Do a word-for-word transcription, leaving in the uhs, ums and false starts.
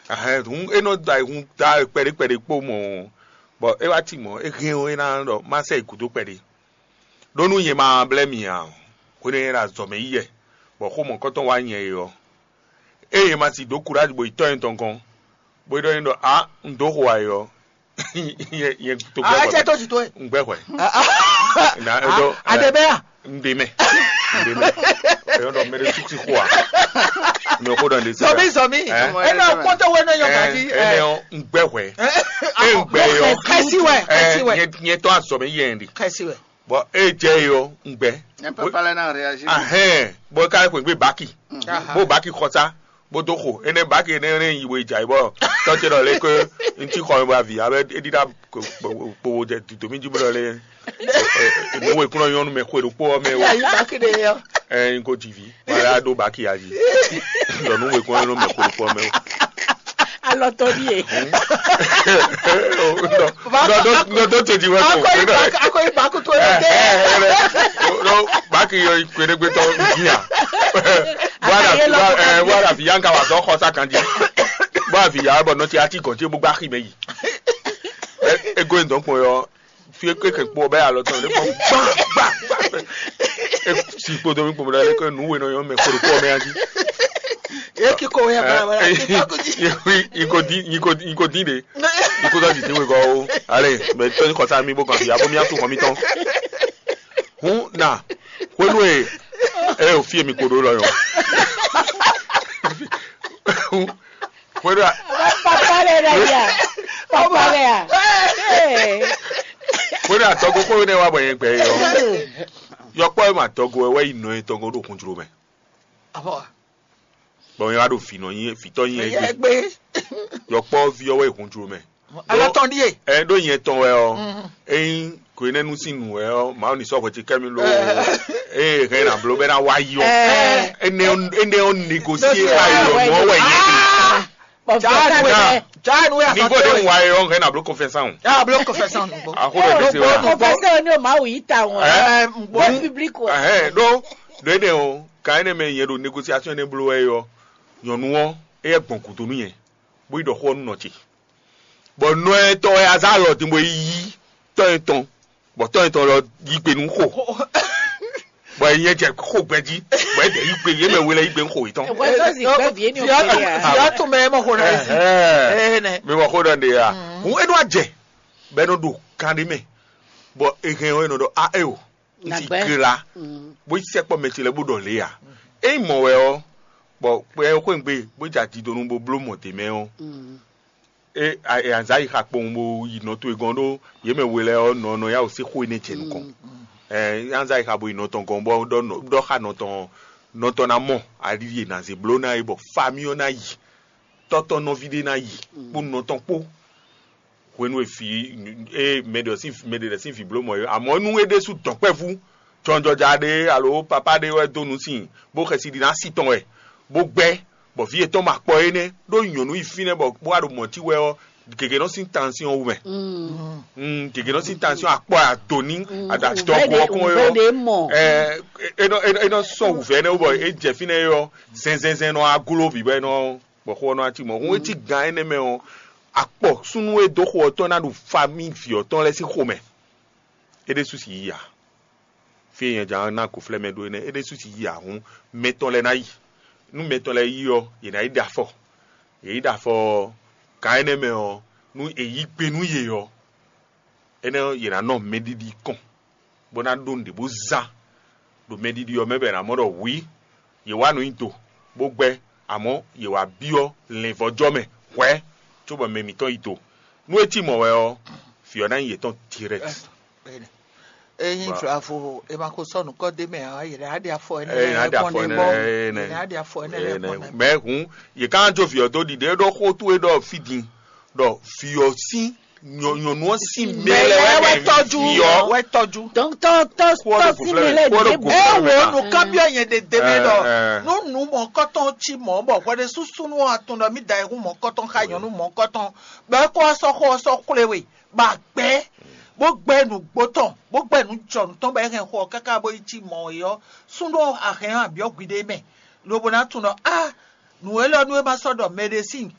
Ahɛn hun é nɔ da hun da kpɛɖé kpɛɖé kpó mɔ, bɔ é wá ti mɔ é hɛn é ná ɖɔ má sɛ yi gǔdo kpɛɖé. Ɖó nú nyɛ ma blɛ́ mi ǎ, hwenu e nyɛ ɖo azɔ̌ mɛ yi wɛ, bɔ xó mɔ̌kɔtɔn wá nyɛ é ɔ́, ée nyɛ ma si dǒ kuráji bo yi tɔ́ nyɛ tɔn gɔ́n, bó ɖɔ n'i ɖɔ ǎ, un dǒ xo ayɔ. Nyɛ nyɛ to Ah, gbɛ́ etsɛ tó jì tó e. Un gbɛ́ hwɛ. Na Ah, eɖɔ adebɛa. Un ɖe mɛ. Un ɖe mɛ. Eyɔ́ ɖɔ mɛ ɖé tukí xo a. Mɛ xó ɖɔ ɖe se. Zɔmi zɔmi. Ɛ? Ena kpɔtɔ wɛ ne yɔ gadi. Ɛnɛ ɔ un gbɛ́ hwɛ. Ɛ un gbɛ yɔ. Kɛsi wɛ, kɛsi wɛ. Nyɛ nyɛ tɔ azɔ mɛ yɛ ɛn de. Kɛsi wɛ. Bɔn e jɛ yi ɔ un gbɛ. Nyɛ papa lɛ na réagir. Ahɛn bɔn e ka yɛ xwe gbé baki. Aha. Bó baki xɔsa. Bó dó xo énɛ́ baki énɛ́ énɛ́ yi we jǎ yi bɔ tɔ́ ce ɖɔ lé ké ŋutí xɔ mi bɔ avǐ abɛ é ɖíɖá kpowó jɛ dǐdó mì jí bó ɖɔ lé nǔ wekúnɔ nyɔ́nu mɛ xwe ɖokpó ɔ́ mɛ o. Ayi baki ɖe yɔ. Ɛ n ko dzi vi wala ɖó baki ya zi ɖɔ nǔ wekúnɔ nyɔ́nu mɛ xwe ɖokpó ɔ́ mɛ o. Alɔtɔ ɖíe. Nɔ tó tètè wɛ kò. Akɔyi baku akɔyi baku tó yɛ dɛ. Nɔ baki yɔ kpeɖégbétɔ bia. Bó a da fi yanka wa zɔ xɔ sa kan jí. Bó a fi ya bɔ nɔ ti ati gɔn tí bó gbá xi mɛ yi. Ego yin dɔn kpɔn yɔ fi eke kɛ kpɔ bɛ alɔ tɔn lɛ kpɔ gba gba gba. E si kpodo mi kpɔmɔ lɛ kɛ nu wɛ nɔ yɔ mɛ kpɔdo kpɔ mɛ adi. Eki ko wɛ bla bla. Iko di iko di iko di de. Iko sɔ di te wɛ gɔ o. Ale mɛ tɔn kɔsa mi bo kan fi abo mi asu kɔ mi tɔn. Hun na hwenu e e o fie mi koɖo lɔ yɔ. Hwenu a Papa lɛ ɖe ya. Papa lɛ ya. Ee. Hwenu a tɔgo kó ne wa bɔ yẹn gbɛ yɔ. Yɔkpɔ e ma tɔgo wɛ wɛ yi nɔ yẹn tɔgo ɖo kun jlo mɛ. Abɔ. Bɔn yẹn wa ɖo fi nɔ nyi fi tɔ nyi yẹn gbe. Yɔkpɔ vi ɔwɔ yi kun jlo mɛ. Alɔ tɔn ɖíe. Ɛ ɖó nyɛ tɔn wɛ ɔ. Eyin ko ne nu sin nu wɛ ɔ ma ni sɔ hwɛ ti kɛ mi lo. Eye hɛn na blo bɛ na wa yi ɔ. Ene ene ɔ negosie ba yi ɔ mɔ wɛ yɛ. Bɔn Jaa nu fɛn wɛ. Jaa nu wɛ. Ni ko de wa yi ɔ hɛn na blo confession. Ya blo confession nu gbɔ. Axo ɖe de se wa. Confession ni o ma wu yi ta wọn. Ɛ Bɔ public wɛ. Ɛhɛn ɖó ɖó ene o kan ene mɛ yɛ ɖo négociation ne blo wɛ yɔ nyɔnu ɔ eyɛ gbɔn kudo nu yɛ bó yi ɖɔ xó ɔ́ nú nɔ ce. Bɔ nɔ etɔn wɛ azá lɔ din bɔ é yí tɔ́ etɔn, bɔ tɔ́ etɔn lɔ yí gbe nú xo. Bɔ é nyɛ jɛ xo gbɛ jí, bɔ é dɛ yí gbe yé mɛ wele yí gbe nú xo yětɔn. Via tún mɛ mɔ xo na yé si. Ɛhɛn. Ene. Mi mɔ xo ɖɔ ɖe ya. Hun e nɔ ajɛ bɛ nɔ ɖo kan ɖe mɛ, bɔ ehɛn ɔ e nɔ ɖɔ a e o, n ti Nagbɛ. Gla, bó yi sɛkpɔ mɛ ce lɛ bó ɖɔ lě ya. E mɔ wɛ ɔ, bɔ kpɛ xwéngbe bó jɛ adidonu bó bló mɔ dě mɛ ɔ, e azǎ yi xa kpowun bó yi nɔ towe gɔ́n ɖó yě mɛ we lɛ́ɛ ɔ́ nɔ nɔ yá wǒ sí xó énɛ́ jɛ nukɔn. Ɛ azǎ yi xa bo yi nɔ tɔn gɔ́n bɔ ɖɔ nɔ- ɖɔ xa nɔ tɔn nɔ tɔn ná mɔ ali e nǎ zé bló ná é bɔ famí ɔ́ ná yi tɔ́tɔ́ nɔví ɖé ná yi kpó nɔ tɔn kpó. Hwenu e vǐ e mɛ ɖe sín mɛ ɖe lɛ́ sín vǐ bló mɔ̌ é, amɔ̌ nú é ɖésú dɔ̌nkpɛvú jɔnjɔja ɖé alo papá ɖé wɛ dó nǔ sin bó xɛsi ɖi ná sí tɔn wɛ, bó gbɛ́, bɔ vǐ yětɔn ma kpɔ énɛ́ ɖó nyɔ̌nu yi fínɛ́ bɔ bó wá ɖo mɔ̌ cí wɛ ɔ́, gěgé nɔ sín tansyɔn wú mɛ. Mm, gěgé nɔ sín tansyɔn akpɔ adoni adadɔgo ɔkɔn yɔ. Ɛ é nɔ é nɔ sɔ wǔvɛ́ nɛ́ wú bɔ é jɛ fínɛ́ yɔ zɛnzɛnzɛn nɔ aglo bǐ bɔ é nɔ bɔ xó ɔ́ nɔ cí mɔ̌. Hún e cí gan énɛ́ mɛ ɔ́, akpɔ súnnu e dó xo ɔ́ tɔn ná ɖu famí vǐ ɔ́ tɔn lɛ́ɛ sín xomɛ. É ɖésú si yí a? Fí e nyɛ jǎn ná gǒflɛ́ mɛ ɖó énɛ́, é ɖésú si yí a hǔn mɛ tɔn lɛ́ɛ ná yi. Nú mɛ tɔn lɛ́ɛ yi ɔ́, yě ná yi ɖe afɔ. Yě yi ɖe afɔ ɔ́, gan énɛ́ mɛ ɔ́, nú è yí gbe nú yě ɔ́, énɛ́ ɔ́, yě ná nɔ mɛɖiɖi kɔn, bó ná ɖó nǔɖé bó zán ɖo mɛɖiɖi ɔ́ mɛ bɔ è nǎ mɔ ɖɔ hwǐ, yě wá nǔ nyi do, bó gbɛ́, amɔ̌ yě wá byɔ́ lɛ̌nvɔ́jɔ́ mɛ hwɛ̌, cóbɔ mɛ mǐtɔn yi do. Nú é cí mɔ̌ wɛ ɔ́, vǐ ɔ́ ná nyí yětɔn direct. Enyi vlavo e ma ko sɔ́ nǔkɔ dé mɛ ǎ, yě ná ɖe afɔ énɛ́ Eye ná ɖe afɔ énɛ́ lɛ́ɛ gbɔn nɛ. Yě ná ɖe afɔ énɛ́ lɛ́ɛ gbɔn nɛ. Mɛ hǔn, yě ká jó vǐ ɔ́ dó ɖiɖe ɖó xó towe ɖɔ fí din, ɖɔ vǐ ɔ́ sín nyɔ- nyɔ̌nu ɔ́ sín mɛ Mɛ lɛ́ɛ lɛ́ɛ wɛ wɛ tɔ́jú, vǐ ɔ́. Wɛ tɔ́jú. Donc tɔ tɔ Kó wá tɔ ɖo si gǔflɛ́ mɛ mɛ, lɛ kó wá ɖo dě gǔflɛ́ mɛ. Ewɔ nukán byɔ́ nyɛ ɖe dě mɛ ɖɔ Ɛ, ɛ. Nú nǔ mɔ̌kɔtɔn cí mɔ̌ bɔ hwɛɖésúsúnú ɔ́ tunwun ɖɔ mí da ayihún mɔ̌kɔtɔn xá nyɔ̌nu mɔ̌kɔtɔn, bɔ é kó wá sɔ́ xó ɔ́ sɔ́ xwlé we, bɔ a gbɛ́, bó gbɛ́ nǔgbó tɔn, bó gbɛ́ nǔ jɔnǔ tɔn bɔ é hɛn xó ɔ́ káká bó yi cí mɔ̌ é ɔ́, súnnu ɔ́ a hɛn ɔ́ a byɔ́ hwiɖée mɛ, lobo ná tunwun ɖɔ á nǔ élɔ́ nú é ma sɔ́ ɖɔ mɛɖé sín nyǐkɔ